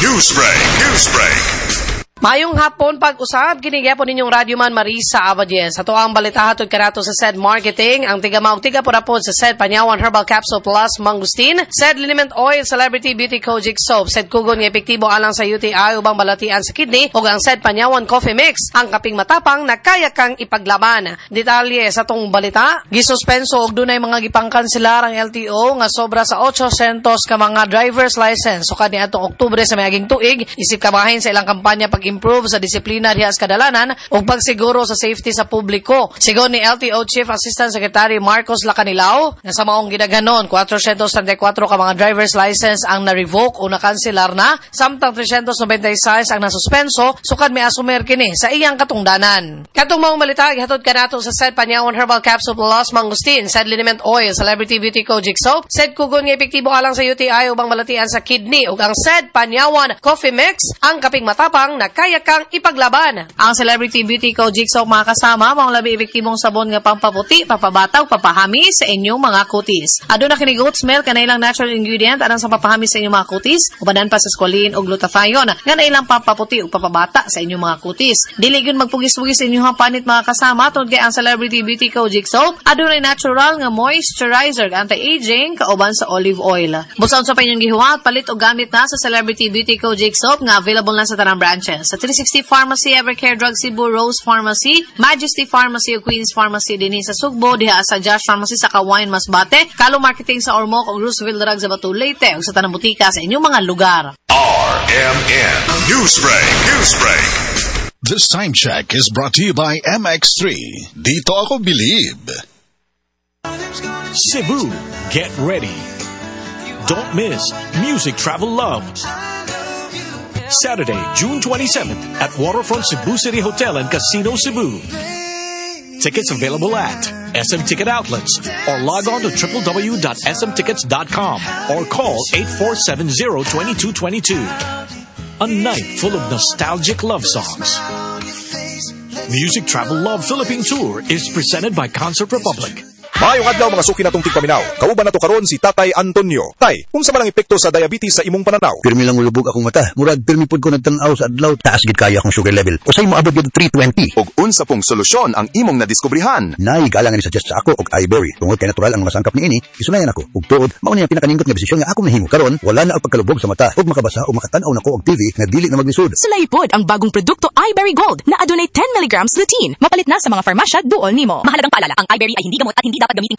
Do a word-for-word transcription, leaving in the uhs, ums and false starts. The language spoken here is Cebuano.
Newsbreak, Newsbreak. Maayong hapon pag-usab kini gyapon ninyong radyoman Marisa Abadies. Ato ang balita hatod kanato sa SED Marketing, ang tiga maog tiga purapod sa SED Panyawan Herbal Capsule Plus Mangustin, SED Liniment Oil Celebrity Beauty Kojic Soap, SED Kugon nga epektibo alang sa U T I ubang balatian sa kidney ug ang SED Panyawan Coffee Mix, ang kaping matapang na kaya kang ipaglaban. Detalye sa tong balita, gisuspenso og dunay mga gipangkanselar ang L T O nga sobra sa eight hundred ka mga driver's license sukad niadtong Oktubre sa miaging tuig isip kabahin sa ilang kampanya pag-improve sa disiplina diha sa kadalanan ug pagsiguro sa safety sa publiko. Sigon ni L T O Chief Assistant Secretary Marcos Lacanilao, nga sa maong gidaghanon, four hundred thirty-four ka mga driver's license ang na-revoke o nakanselar na, samtang three hundred ninety-six ang nasuspenso sukad miasumer kini sa iyang katungdanan. Katong maong balita gihatod kanato sa SED Panyawan Herbal Capsule Plus Mangustin, SED Liniment Oil, Celebrity Beauty Kojic Soap, SED Kugon nga epektibo alang sa U T I ubang balatian sa kidney ug ang SED Panyawan Coffee Mix, ang kaping matapang na kaya kang ipaglaban. Ang Celebrity Beauty Kojic Soap, mga kasama, maong labi epektibong sabon nga pampaputi, papabataw, papahami sa inyong mga kutis. Aduna kini goat's milk nga ilang natural ingredient alang sa papahami sa inyong mga kutis, ubanan pa sa squalene ug glutathione nga nailang pampaputi ug papabata sa inyong mga kutis. Dili gyud magpugis-pugis sa inyong panit, mga kasama, tungod kay ang Celebrity Beauty Kojic Soap adunay natural nga moisturizer, anti-aging kauban sa olive oil. Busa unsa pa inyong gihuwat, palit og gamit na sa Celebrity Beauty Kojic Soap nga available na sa tanang branches. Sa three sixty Pharmacy, Evercare Drug Cebu, Rose Pharmacy, Majesty Pharmacy ug Queen's Pharmacy dinhi sa Sugbo, diha sa Josh Pharmacy sa Kawayan, Masbate, Kalo Marketing sa Ormoc ug Roosevelt Drug sa Bato, Leyte ug sa tanang butika sa inyong mga lugar. R M N Newsbreak, Newsbreak. This time check is brought to you by M X three. Dito ako believe. Cebu, get ready. Don't miss Music Travel Love. Saturday, June twenty-seventh at Waterfront Cebu City Hotel and Casino Cebu. Tickets available at S M Ticket Outlets or log on to w w w dot s m tickets dot com or call eight four seven zero, two two two two. A night full of nostalgic love songs. Music Travel Love Philippine Tour is presented by Concert Republic. Maayong adlaw, mga suki natong tigpaminaw. Kauban nato karon si Tatay Antonio. Tay, unsa man ang epekto sa diabetes sa imong pananaw? Pirmi lang mulubog akong mata. Murag pirmi pud ko nagtan-aw sa adlaw. Taas gid kaayo akong sugar level. Usay moabot gid three twenty. Og unsa pong solusyon ang imong nadiskubrihan? Naay galang ni suggest sa ako og iBerry. Tungod kay natural ang mga sangkap niini, isulayan ako. Ug tuod, mao ni ang pinakanindot nga desisyon nga akong nahimo. Karon, wala na ang pagkalubog sa mata. Ug makabasa o makatan-aw nako og T V nga dili na maglisod. Sulayi pod ang bagong produkto iBerry Gold na adunay ten milligrams lutein. Mapalit na sa mga farmasya duol nimo. Mahalagang paalala, ang iBerry ay hindi gamot at hindi dapat gamitin pang